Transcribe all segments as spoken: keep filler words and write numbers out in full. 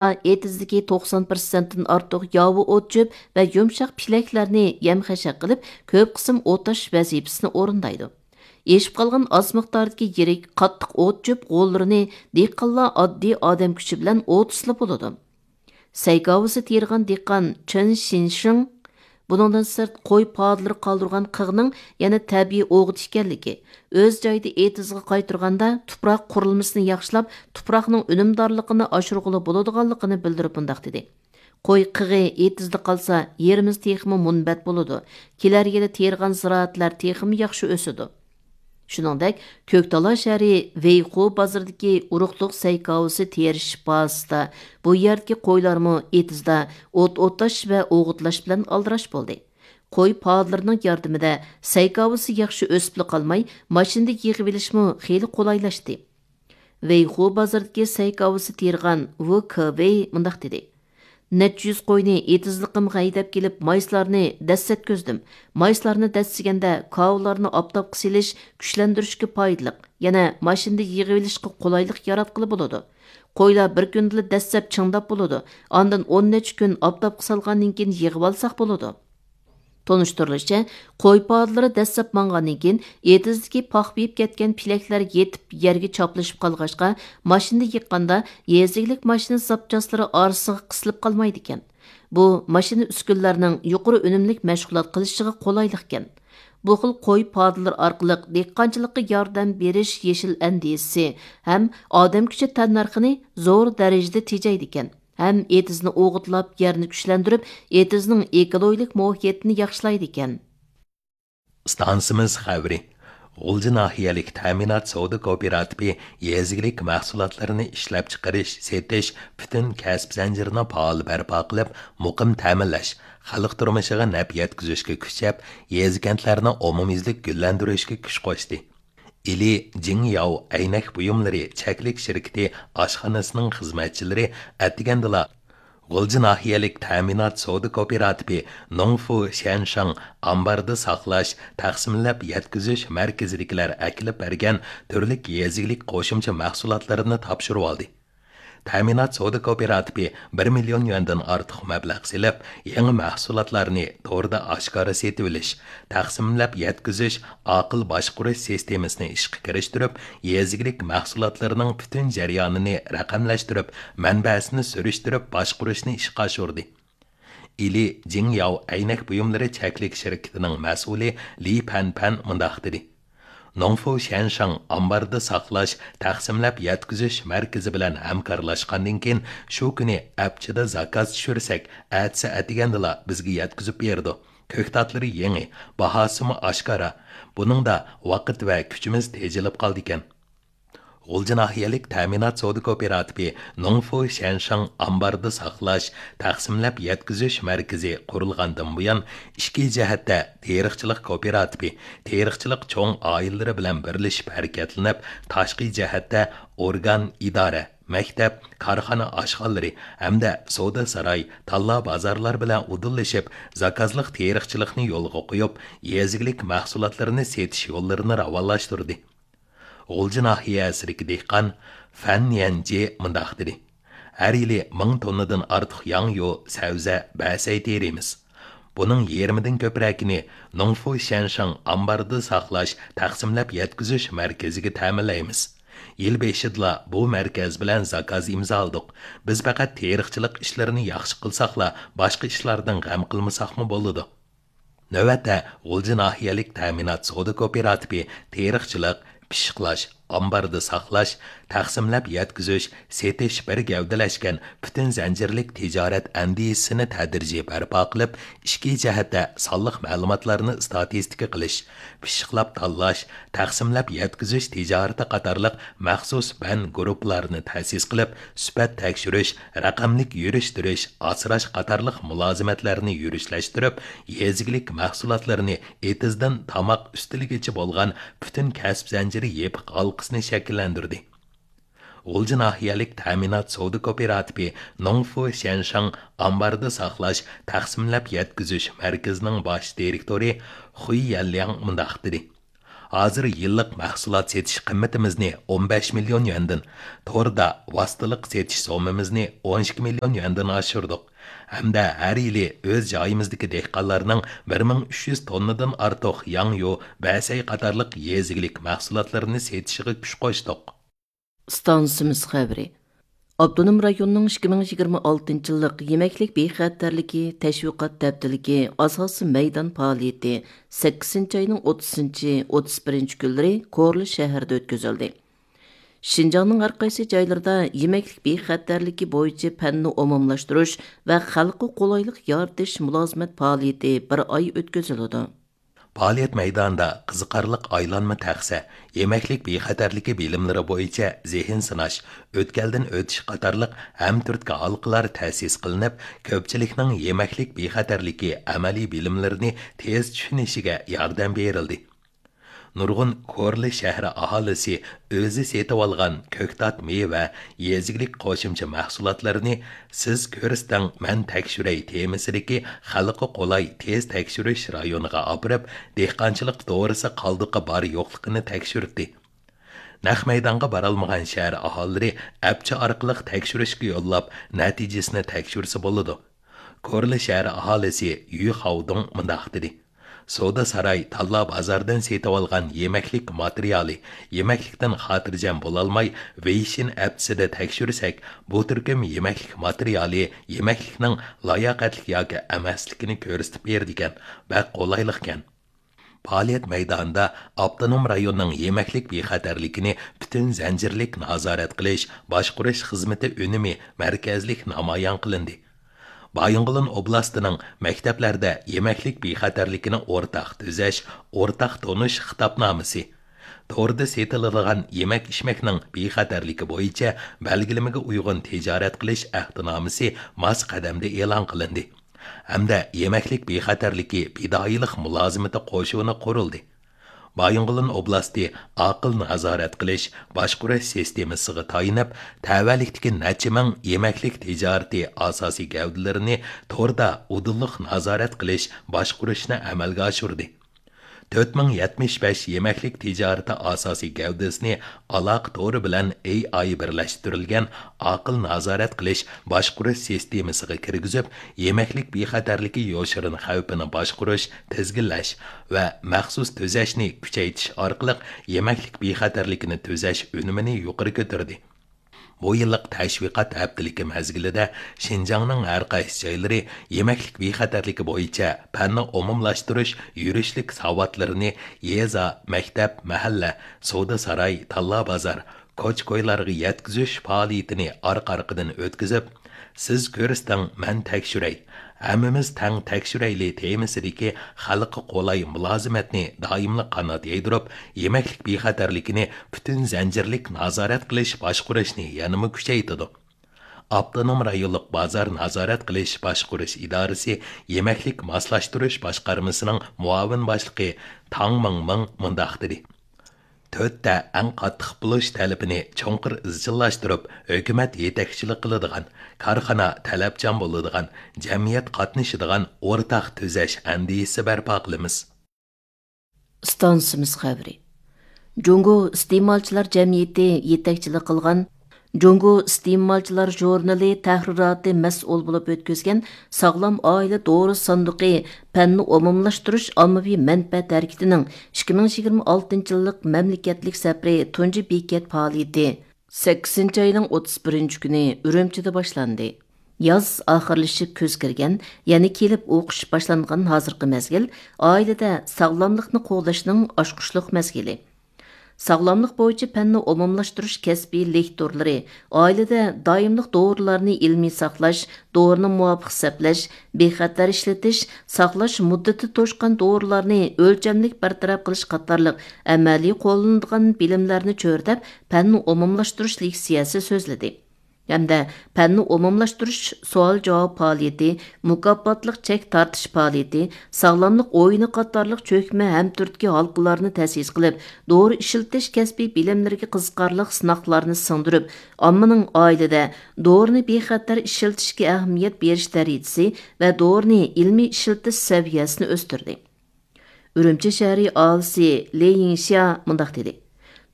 ئېتىزدىكى توقسان پىرسەنتتىن ئارتۇق ياۋا ئوت-چۆپ ۋە يۇمشاق پېلەكلەرنى يەم-خەشەك قىلىپ، كۆپ قىسىم ئوت تاش ۋەزىپىسىنى ئورۇندايدۇ. ئېشىپ قالغان ئاز مىقداردىكى يىرىك، قاتتىق ئوت-چۆپ غوللىرىنى دېھقانلار ئاددىي ئادەم كۈچى بىلەن ئوتۇسلا بولىدۇ. سەي كاۋىسى تېرىغان دېھقان چېن شىنشىڭ بۇنىڭدىن سىرت، قوي پادىلىرى قالدۇرغان قىغنىڭ يەنە تەبىئىي ئوغۇت ئىكەنلىكى، ئۆز جايىدا ئېتىزغا قايتۇرغاندا تۇپراق قۇرۇلمىسىنى ياخشىلاپ، تۇپراقنىڭ ئۈنۈمدارلىقىنى ئاشۇرغىلى بولىدىغانلىقىنى بىلدۈرۈپ مۇنداق دېدى: «قوي قىغى ئېتىزدا قالسا، يېرىمىز تېخىمۇ مۇنبەت بولىدۇ. كېلەر يىلى تېرىغان زىرائەتلەر تېخىمۇ ياخشى ئۆسىدۇ.» شۇنىڭدەك، كۆكتالا شەھىرى ۋېيخۇ بازىرىدىكى ئۇرۇقلۇق سەي كاۋىسى تېرىش بازىسىدا بۇ يەردىكى قويلارمۇ ئېتىزدا ئوت ئوتلاش ۋە ئوغۇتلاش بىلەن ئالدىراش بولدى. قوي پادىلىرىنىڭ ياردىمىدە سەي كاۋىسى ياخشى ئۆسۈپلا قالماي، ماشىنىدا يىغىۋېلىشمۇ خېلى قولايلاشتى. ۋېيخۇ بازىرىدىكى سەي كاۋىسى تېرىغان ۋۇ كېۋېي مۇنداق دېدى: «نەچچە يۈز قوينى ئېتىزلىقىمغا ھەيدەپ كېلىپ، مايسىلارنى دەسسەتكۈزدۈم. مايسىلارنى دەسسىگەندە، كاۋىلارنى ئاپتاپقا سېلىش كۈچلەندۈرۈشكە پايدىلىق، يەنە ماشىنىدا يىغىۋېلىشقا قولايلىق ياراتقىلى بولىدۇ. قويلار بىر كۈندىلا دەسسەپ چىڭداپ بولىدۇ، ئاندىن ئون نەچچە كۈن ئاپتاپقا سالغاندىن كېيىن يىغىۋالساق بولىدۇ.» تونۇشتۇرۇلۇشىچە، قوي پادىلىرى دەسسەپ ماڭغاندىن كېيىن، ئېتىزدىكى پاخپىيىپ كەتكەن پېلەكلەر يېتىپ، يەرگە چاپلىشىپ قالغاچقا، ماشىنىدا يىغقاندا، يېزا ئىگىلىك ماشىنا زاپچاسلىرى ئارىسىغا قىسىلىپ قالمايدىكەن. بۇ ماشىنا ئۈسكۈنىلەرنىڭ يۇقىرى ئۈنۈملۈك مەشغۇلات قىلىشىغا قولايلىقكەن. بۇ خىل قوي پادىلىرى ئارقىلىق دېھقانچىلىققا ياردەم بېرىش يېشىل ئەندىزىسى ھەم ئادەم كۈچى تەننەرخىنى زور دەرىجىدە تېجەيدىكەن. ھەم ئېتىزنى ئوغۇتلاپ، يەرنى كۈچلەندۈرۈپ، ئېتىزنىڭ ئېكولوگىيىلىك مۇھىتىنى ياخشىلايدىكەن. ئىستانسىمىز خەۋىرى. غۇلجا ناھىيەلىك تەمىنات سودا كوپىراتىپى يېزا ئىگىلىك مەھسۇلاتلىرىنى ئىشلەپچىقىرىش، سېتىش، پۈتۈن كەسىپ زەنجىرىنى پائال بەرپا قىلىپ، مۇقىم تەمىنلەش، خەلق تۇرمۇشىغا نەپ يەتكۈزۈشكە كۈچەپ، يېزا-كەنتلەرنى ئومۇميۈزلۈك گۈللەندۈرۈشكە كۈچ قوشتى. ئىلى جىڭياۋ ئەينەك بۇيۇملىرى چەكلىك شىركىتى ئاشخانىسىنىڭ خىزمەتچىلىرى ئەتىگەندىلا غۇلجا ناھىيەلىك تەمىنات سودا كوپىراتىپى نوڭفۇ شيەنشاڭ ئامباردا ساقلاش، تەقسىملەپ يەتكۈزۈش مەركىزىدىكىلەر ئەكېلىپ بەرگەن تۈرلۈك يېزا ئىگىلىك قوشۇمچە مەھسۇلاتلىرىنى تاپشۇرۇۋالدى. تەمىنات سودا كوپىراتىپى بىر مىليون يۈەندىن ئارتۇق مەبلەغ سېلىپ، يېڭى مەھسۇلاتلارنى توردا ئاشكارا سېتىۋېلىش، تەقسىملەپ يەتكۈزۈش، ئاقىل باشقۇرۇش سىستېمىسىنى ئىشقا كىرىشتۈرۈپ، يېزا ئىگىلىك مەھسۇلاتلىرىنىڭ پۈتۈن جەريانىنى رەقەملەشتۈرۈپ، مەنبەسىنى سۈرۈشتۈرۈپ باشقۇرۇشنى ئىشقا ئاشۇردى. ئىلى جىڭياۋ ئەينەك بۇيۇملىرى چەكلىك شىركىتىنىڭ مەسئۇلى لى پەنپەن مۇنداق دېدى: نوڭفۇ شيەنشاڭ ئامباردا ساقلاش، تەقسىملەپ يەتكۈزۈش مەركىزى بىلەن ھەمكارلاشقاندىن كېيىن، شۇ كۈنى ئەپچىدە زاكاز چۈشۈرسەك، ئەتىسى ئەتىگەندىلا بىزگە يەتكۈزۈپ بېرىدۇ. كۆكتاتلىرى يېڭى، باھاسىمۇ ئاشكارا. بۇنىڭدا ۋاقىت ۋە كۈچىمىز تېجىلىپ قالىدىكەن. غۇلجا ناھىيەلىك تەمىنات سودا كوپىراتىپى نوڭفۇ شيەنشاڭ ئامباردا ساقلاش، تەقسىملەپ يەتكۈزۈش مەركىزى قۇرۇلغاندىن بۇيان، ئىچكى جەھەتتە تېرىقچىلىق كوپىراتىپى، تېرىقچىلىق چوڭ ئائىلىلىرى بىلەن بىرلىشىپ ھەرىكەتلىنىپ، تاشقى جەھەتتە ئورگان، ئىدارە، مەكتەپ، كارخانا ئاشخانىلىرى ھەمدە سودا ساراي، تاللا بازارلار بىلەن ئۇدۇللىشىپ، زاكازلىق تېرىقچىلىقنى يولغا قويۇپ، يېزا ئىگىلىك مەھسۇلاتلىرىنى سېتىش يوللىرىنى راۋانلاشتۇردى. غۇلجا ناھىيەسىدىكى دېھقان فەن يەنجى مۇنداق دېدى: ھەر يىلى مىڭ توننىدىن ئارتۇق ياڭيۇ، سەۋزە، بەسەي تېرىيمىز. بۇنىڭ يېرىمىدىن كۆپرەكىنى نوڭفۇ شيەنشاڭ ئامباردا ساقلاش، تەقسىملەپ يەتكۈزۈش مەركىزىگە تەمىنلەيمىز. يىل بېشىدىلا بۇ مەركەز بىلەن زاكاز ئىمزالىدۇق. بىز پەقەت تېرىقچىلىق ئىشلىرىنى ياخشى قىلساقلا، باشقا ئىشلاردىن غەم قىلمىساقمۇ بولىدۇ. نۆۋەتتە، غۇلجا ناھىيەلىك تەمىنات سودا كوپىراتىپى تېرىقچىلىق، پىششىقلاش، ئامباردا ساقلاش، تەقسىملەپ يەتكۈزۈش، سېتىش بىر گەۋدىلەشكەن پۈتۈن زەنجىرلىك تىجارەت ئەندىزىسىنى تەدرىجىي بەرپا قىلىپ، ئىچكى جەھەتتە سانلىق مەلۇماتلارنى ئىستاتىستىكا قىلىش، پىششىقلاپ تاللاش، تەقسىملەپ يەتكۈزۈش تىجارىتى قاتارلىق مەخسۇس بەن گۇرۇپپىلارنى تەسىس قىلىپ، سۈپەت تەكشۈرۈش، رەقەملىك يۈرۈشتۈرۈش، ئاسراش قاتارلىق مۇلازىمەتلەرنى يۈرۈشلەشتۈرۈپ، يېزا ئىگىلىك مەھسۇلاتلىرىنى ئېتىزدىن تاماق ئۈستىلىگىچە بولغان پۈتۈن كەسىپ زەنجىرى يېپىق ھالقىسىنى شەكىللەندۈردى. غۇلجا ناھىيەلىك تەمىنات سودا كوپىراتىپى نوڭفۇ شيەنشاڭ ئامباردا ساقلاش، تەقسىملەپ يەتكۈزۈش مەركىزىنىڭ باش دىرېكتورى خۇي يەنلياڭ مۇنداق دېدى: ھازىر يىللىق مەھسۇلات سېتىش قىممىتىمىزنى ئون بەش مىليون يۈەندىن، توردا ۋاسىتىلىق سېتىش سوممىمىزنى ئون ئىككى مىليون يۈەندىن ئاشۇردۇق ھەمدە ھەر يىلى ئۆز جايىمىزدىكى دېھقانلارنىڭ بىر مىڭ ئۈچ يۈز توننىدىن ئارتۇق ياڭيۇ، بەسەي قاتارلىق يېزا ئىگىلىك مەھسۇلاتلىرىنى سېتىشىغا كۈچ قوشتۇق. ئىستانسىمىز خەۋىرى. ئاپتونوم رايوننىڭ ئىككى مىڭ يىگىرمە ئالتىنچى يىللىق يېمەكلىك بىخەتەرلىكى تەشۋىقات ھەپتىلىكى ئاساسىي مەيدان پائالىيىتى سەككىزىنچى ئاينىڭ ئوتتۇزىنچى، ئوتتۇز بىرىنچى كۈنلىرى كورلا شەھىرىدە ئۆتكۈزۈلدى. شىنجاڭنىڭ ھەر قايسى جايلىرىدا يېمەكلىك بىخەتەرلىكى بويىچە پەننى ئومۇملاشتۇرۇش ۋە خەلققە قولايلىق يارىتىش مۇلازىمەت پائالىيىتى بىر ئاي ئۆتكۈزۈلىدۇ. پائالىيەت مەيدانىدا قىزىقارلىق ئايلانما تەخسە، يېمەكلىك بىخەتەرلىكى بىلىملىرى بويىچە زېھىن سىناش، ئۆتكەلدىن ئۆتۈش قاتارلىق ھەمتۈرتكە ھالقىلار تەسىس قىلىنىپ، كۆپچىلىكنىڭ يېمەكلىك بىخەتەرلىكى ئەمەلىي بىلىملىرىنى تېز چۈشىنىشىگە ياردەم بېرىلدى. نۇرغۇن كورلا شەھىرى ئاھالىسى ئۆزى سېتىۋالغان كۆكتات مېۋە، يېزا ئىگىلىك قوشۇمچە مەھسۇلاتلىرىنى سىز كۆرسىتىڭ، مەن تەكشۈرەي تېمىسىدىكى خەلققە قولاي تېز تەكشۈرۈش رايونىغا ئاپىرىپ، دېھقانچىلىق دورىسى قالدۇقى بار يوقلۇقىنى تەكشۈرتتى. نەق مەيدانغا بارالمىغان شەھەر ئاھالىلىرى ئەپچى ئارقىلىق تەكشۈرۈشكە يوللاپ، نەتىجىسىنى تەكشۈرسە بولىدۇ. كورلا شەھەر ئاھالىسى يۈ خاۋدۇڭ مۇنداق دېدى: سودا ساراي تاللا بازاردىن سېتىۋالغان يېمەكلىك ماتېرىيالى يېمەكلىكتىن خاتىرجەم بولالماي، ۋېيشىن ئەپچىسىدە تەكشۈرسەك، بۇ تۈركۈم يېمەكلىك ماتېرىيالى يېمەكلىكنىڭ لاياقەتلىك ياكى ئەمەسلىكىنى كۆرسىتىپ بېرىدىكەن، بەك قولايلىقكەن. پائالىيەت مەيدانىدا ئاپتونوم رايوننىڭ يېمەكلىك بىخەتەرلىكىنى پۈتۈن زەنجىرلىك نازارەت قىلىش، باشقۇرۇش خىزمىتى ئۈنۈمى مەركەزلىك نامايان قىلىندى. بايىنغولىن ئوبلاستىنىڭ مەكتەپلەردە يېمەكلىك بىخەتەرلىكىنى ئورتاق تۈزەش، ئورتاق تونۇش خىتابنامىسى، توردا سېتىلىدىغان يېمەك-ئىچمەكنىڭ بىخەتەرلىكى بويىچە بەلگىلىمىگە ئۇيغۇن تىجارەت قىلىش ئەھدىنامىسى ماس قەدەمدە ئېلان قىلىندى ھەمدە يېمەكلىك بىخەتەرلىكى پىدائىيلىق مۇلازىمىتى قوشۇنى قۇرۇلدى. بايىنغولىن ئوبلاستى ئاقىل نازارەت قىلىش، باشقۇرۇش سىستېمىسىغا تايىنىپ، تەۋەلىكتىكى نەچچە مىڭ يېمەكلىك تىجارىتى ئاساسىي گەۋدىلىرىنى توردا ئۇدۇللۇق نازارەت قىلىش، باشقۇرۇشنى ئەمەلگە ئاشۇردى. تۆت مىڭ يەتمىش بەش يېمەكلىك تىجارىتى ئاساسىي گەۋدىسىنى ئالاقە تورى بىلەن ئېي ئاي بىرلەشتۈرۈلگەن ئاقىل نازارەت قىلىش، باشقۇرۇش سىستېمىسىغا كىرگۈزۈپ، يېمەكلىك بىخەتەرلىكى يوشۇرۇن خەۋپىنى باشقۇرۇش، تىزگىنلەش ۋە مەخسۇس تۈزەشنى كۈچەيتىش ئارقىلىق يېمەكلىك بىخەتەرلىكىنى تۈزەش ئۈنۈمىنى يۇقىرى كۆتۈردى. بۇ يىللىق تەشۋىقات ھەپتىلىكى مەزگىلىدە شىنجاڭنىڭ ھەر قايسى جايلىرى يېمەكلىك بىخەتەرلىكى بويىچە پەننى ئومۇملاشتۇرۇش يۈرۈشلۈك ساۋاتلىرىنى يېزا، مەكتەپ، مەھەللە، سودا ساراي، تاللا بازار، كوچا-كويلارغا يەتكۈزۈش پائالىيىتىنى ئارقا-ئارقىدىن ئۆتكۈزۈپ، سىز كۆرسىتىڭ، مەن تەكشۈرەي، ھەممىمىز تەڭ تەكشۈرەيلى تېمىسىدىكى خەلققە قولاي مۇلازىمەتنى دائىملىق قانات يايدۇرۇپ، يېمەكلىك بىخەتەرلىكىنى پۈتۈن زەنجىرلىك نازارەت قىلىش باشقۇرۇشنى يەنىمۇ كۈچەيتىدۇ. ئاپتونوم رايونلۇق بازار نازارەت قىلىش باشقۇرۇش ئىدارىسى يېمەكلىك ماسلاشتۇرۇش باشقارمىسىنىڭ مۇئاۋىن باشلىقى تاڭ مىڭمىڭ مۇنداق دېدى: تۆتتە ئەڭ قاتتىق بولۇش تەلىپىنى چوڭقۇر ئىزچىللاشتۇرۇپ، ھۆكۈمەت يېتەكچىلىك قىلىدىغان، كارخانا تەلەپچان بولىدىغان، جەمئىيەت قاتنىشىدىغان ئورتاق تۈزەش ئەندىزىسى بەرپا قىلىمىز. ئىستانسىمىز خەۋىرى. جۇڭگو ئىستېمالچىلار جەمئىيىتى يېتەكچىلىك قىلغان جۇڭگو ئىستېمالچىلار ژۇرنىلى تەھرىراتى مەسئۇل بولۇپ ئۆتكۈزگەن ساغلام ئائىلە دورا ساندۇقى پەننى ئومۇملاشتۇرۇش ئاممىۋى مەنپەئەت ھەرىكىتىنىڭ ئىككى مىڭ يىگىرمە ئالتىنچى يىللىق مەملىكەتلىك سەپىرى تۇنجى بېكەت پائالىيىتى سەككىزىنچى ئاينىڭ ئوتتۇز بىرىنچى كۈنى ئۈرۈمچىدە باشلاندى. ياز ئاخىرلىشىپ كۈز كىرگەن، يەنە كېلىپ ئوقۇش باشلانغان ھازىرقى مەزگىل ئائىلىدە ساغلاملىقنى قوغداشنىڭ ئاچقۇچلۇق مەزگىلى. ساغلاملىق بويىچە پەننى ئومۇملاشتۇرۇش كەسپىي لېكتورلىرى، ئائىلىدە دائىملىق دورىلارنى ئىلمىي ساقلاش، دورىنى مۇۋاپىق سەپلەش، بىخەتەر ئىشلىتىش، ساقلاش مۇددىتى توشقان دورىلارنى ئۆلچەملىك بىر تەرەپ قىلىش قاتارلىق ئەمەلىي قوللىنىدىغان بىلىملەرنى چۆرىدەپ، پەننى ئومۇملاشتۇرۇش لېكسىيەسى سۆزلىدى. ھەمدە پەننى ئومۇملاشتۇرۇش سوئال-جاۋاب پائالىيىتى، مۇكاپاتلىق چەك تارتىش پائالىيىتى، ساغلاملىق ئويۇنى قاتارلىق چۆكمە ھەمتۈرتكە ھالقىلارنى تەسىس قىلىپ، دورا ئىشلىتىش كەسپىي بىلىملىرىگە قىزىقارلىق سىناقلارنى سىڭدۈرۈپ، ئاممىنىڭ ئائىلىدە دورىنى بىخەتەر ئىشلىتىشكە ئەھمىيەت بېرىش دەرىجىسى ۋە دورىنى ئىلمىي ئىشلىتىش سەۋىيەسىنى ئۆستۈردى. ئۈرۈمچى شەھىرى ئاھالىسى لى يىڭشيا مۇنداق دېدى: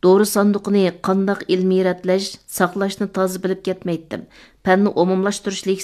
دورا ساندۇقىنى قانداق ئىلمىي رەتلەش، ساقلاشنى تازا بىلىپ كەتمەيتتىم. پەننى ئومۇملاشتۇرۇشلۇق